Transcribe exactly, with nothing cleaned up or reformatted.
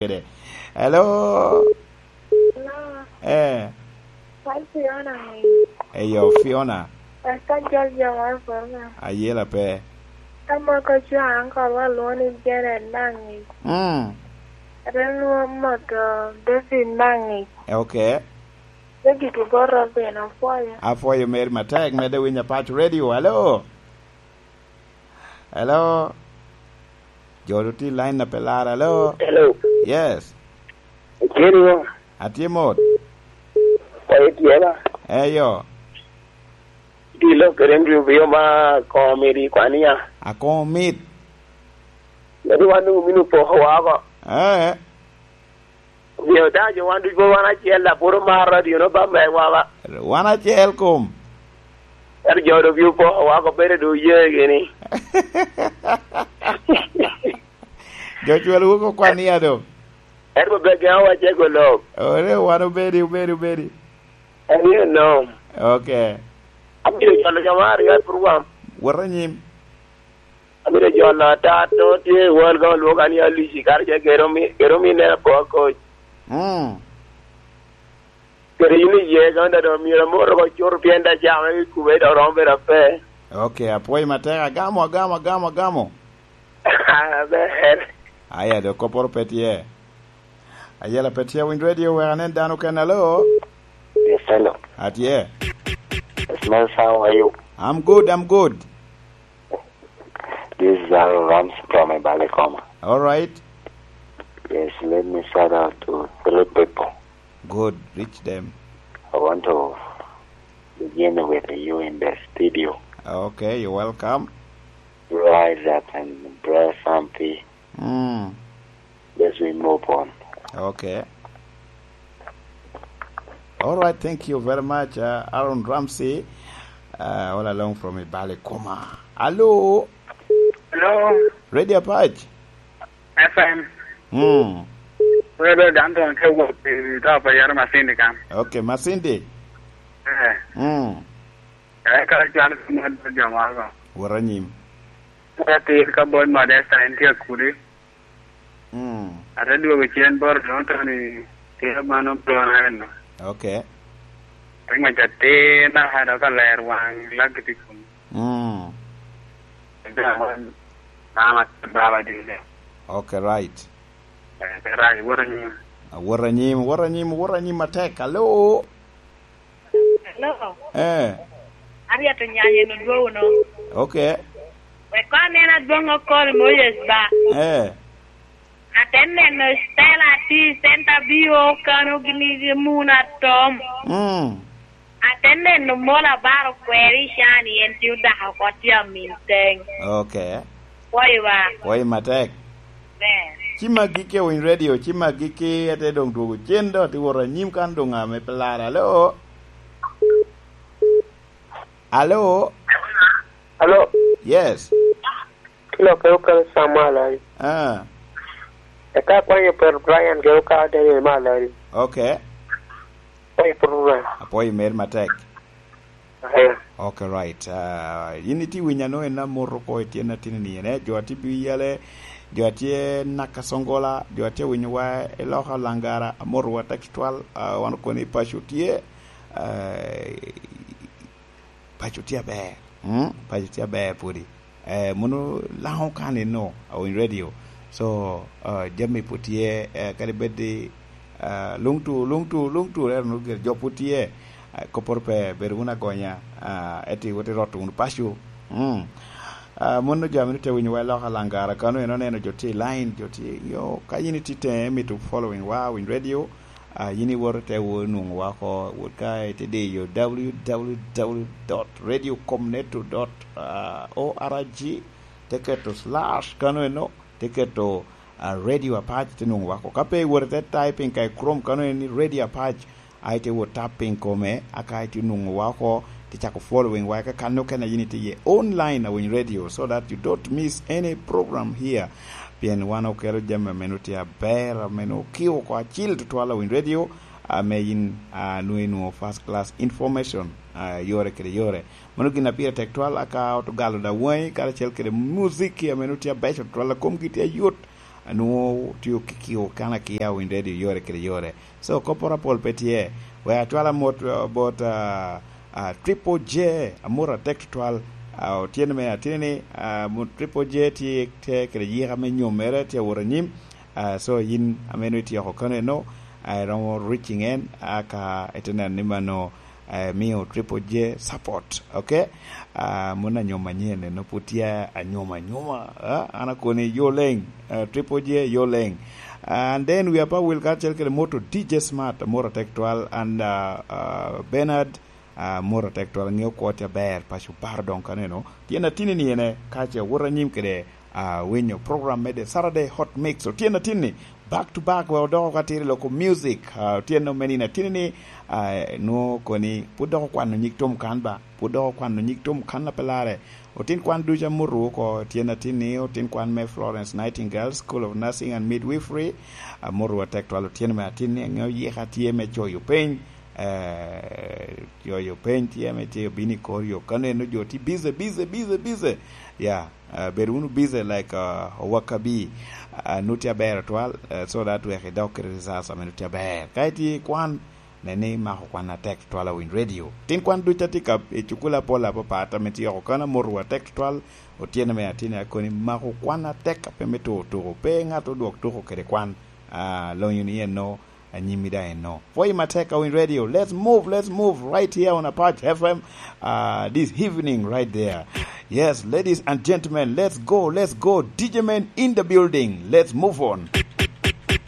kede. Hello? Hello? Eh. Kal Fiona ni. Eyo, Fiona. Eka jol jo moro Fiona. Ayela pe. Ka moko cwa ankol wa lwongo ni Janet Nangi. Mm. Ate lwongo moto David Nangi. Eh, okay. David Oboto bene apwoyo. Apwoyo meri matek, medde winyo Apac Radio. Hello? Hello? Jo do tye i line na pe lar, hello? Hello. Yes. Iceni ŋo? Atye mot. Kwayo tye ba? Eyo. Tye lok kede Andrew Bio ma Komit i Kwania. Akomit. Yadi wan doŋ omino poko woko. Eh. Omio daŋ jo wan ducu pwod wan acel, dok pwod omaro radio no ba megwa ba. Wan acel kom. Ento jo doŋ bino poko woko, bedo doŋ oye gini. Jo cwalo wok okwan iya doŋ. Ento be gin awa cego lok. Ore, wan obedi, obedi, obedi. Aniyo nom. Okay. Abiro jolo jo maro yot program. Wot anyim. Amito jolo ata to tye i won ka olwoka ni Alici, kara ce gero mi, gero mi nena po akoc. Mm. Kede in iye ka onda do myero amoro ko cur pien da cama i kube do romo bedo ape. Okay, apwoyo matek, agamo, agamo, agamo, agamo. Aber. Aya, do koporo pe tye. Ayela pe tye, winy radio wek anen dano kene. Alo? Yes, hello. Atye. Yes, Miles, how are you? I'm good, I'm good. This is Aaron Rams from Ebalikoma. All right. Yes, let me shout out to three people. Good, reach them. I want to begin with you in the studio. Okay, you're welcome. Rise up and bless something. Mm. Let's we move on. Okay. All right, thank you very much, uh, Aaron Ramsey. Uh, all along from Ibale Koma. Hello? Hello? Radio Apac? F M. Mm. Wewe Danton ke wuok i top a yero Masindi kan. Okay, Masindi. Eh. Mm. Eh, ka cwalo mo jo moro. Wara nyim. Ka tir ka bol Modesta en tye kudi. Mm. Ate dwogo cen boro Tonton i tye mano Brian. Okay. Tek mac atir na hado ka ler wang lak i kum. Mm. Ega wan mama baba dile. Okay, right. Eh, right, wara nyim. Wara nyim, wara nyim, wara nyim matek. Hello. Hello. Eh. Aryet Onyanya en odwogo no. Okay. Wek koŋ anen adwoŋ okol Moses ba. Eh. Ate neno Stella tye i center bio kano gini gi mun atom. Mm. Ate neno mola baro kweri cani en tye odako oko tye amin teng. Okay. Pwoyo ba. Pwoyo matek. Ber. Ci maggi ke winy radio, ci maggi ke ate doŋ dwogo cen do, ati wot anyim kan doŋ ame pe lar. Alo? Alo? Alo? Yes. Kilo ke okelo Samuel ai. Ah. Eka akwanyo Peter Brian ke oka Daniel Malari. Okay. Kwanyo Peter Brian. Apwoyo mer matek. Aya. Okay, right. Ah, in itye winyo ano en amoro ko i tyen atini ni en, eh, jo atye bi yale, jo atye naka Songola, jo atye winyo wa i loka Langara, amoro wa taki twal, ah, wan okone i paco tye, ah, paco tye aber. Mm, paco tye aber pwodi. Eh, mono Laŋo kan eno, awiny radio. So, ah, jami pwod tye, eh, kadi bed ni, ah, luŋ tu, luŋ tu, luŋ tu, rero nu gire, jo pwod tye, ah, kopporo pe, bedo wunu agonya, ah, eti wot irot wunu paco. Mm. Ah, mono jo amito te winyo wa i loka Langara, kano en oneno jo tye i line, jo tye, yo, ka in itye tenge, mito following wa, winy radio, ah, yin iwoto te wo nwoŋo wa oko, wot ka ite diyo W W W dot radio comneto dot org, te keto slash kano eno, te keto, ah, Radio Apac, te nwoŋo wa oko. Ka pe iwoto ite typing ka i Chrome kano eno ni Radio Apac, a ite wot tap piny kome, aka ite nwoŋo wa oko, te cako following wa, eka kan okene yin itye iye online awiny radio, so that you don't miss any program here. Pien wan okelo jami ame nwoŋo tye aber, ame nwoŋo kio oko acil tutwal awiny radio, ame yin, ah, nwoŋo inwoŋo first class information, ah, yore kede yore. Mano gin a pire tek twal, aka Otogalo Dawaŋi karacel kede muziki ame nwoŋo tye abeco twal, a komgi tye ayot, nwoŋo tye okikio kan akia winy redio yore kede yore. So kopporo apol pe tye. Wek acwal amot, uh, bot, uh, uh, Triple J, amot atek tutwal. Uh, otyeno me atini ni, uh, mo-, Triple J tye te kede yika me nyomere, tye awot anyim. Uh, so yin ame nwoŋo ityeko kano eno, uh, iromo reaching en, uh, ka ite neno ni mano, uh, miyo Triple J support, okay? Uh, mon anyom anyen eno pud tye anyom anyoma, uh, an akoni yo leng, uh, Triple J yo leng. And then we are pa wil kacel kede moto D J Smart, amot atek twal, and, uh, uh, Bernard, uh, amot atek twal, ŋeo kwo tye aber, paco bar dong kaneno. Tyen atini ni ene, kace awot anyim kede, uh, winyo program me the Saturday Hot Mix. Otyeno atinni, back to back, we odoko ka tiri loko music. Uh, otyeno me nino atini ni, uh, nwoŋo koni, pud dok okwano nyig tom kan ba, pud dok okwano nyig tom kan a pe lare. Otin kwan ducu amuto oko, tyen atinni, otin kwan me Florence Nightingale School of Nursing and Midwifery, amuto atek twal otyeno me atinni, aŋeo yika tye me coyo peny, eh, coyo peny tye me tye obino i kor yo. Kano eno jo tye busy, busy, busy, busy. Ya, eh, bed wunu busy like, uh, Wakabi. Uh, nut tye aber twal, eh, so that wek idok kede results ame nut tye aber. Ka itye i kwan, nen ni imako kwan atek twal a Winy Radio. Tin kwan duc a tye ka i cukul apol apapat ame tye oko kan amotowa atek twal, otyeno me atinni akoni mako kwan atek a pe me tuko tuko. Pe ŋat odwok tuko kede kwan. Ah, lonyo ni eno, anyimmi da eno. Pwoyi matek a Winy Radio. Let's move, let's move right here on Apac F M, uh, this evening right there. Yes, ladies and gentlemen, let's go, let's go. D J man in the building. Let's move on.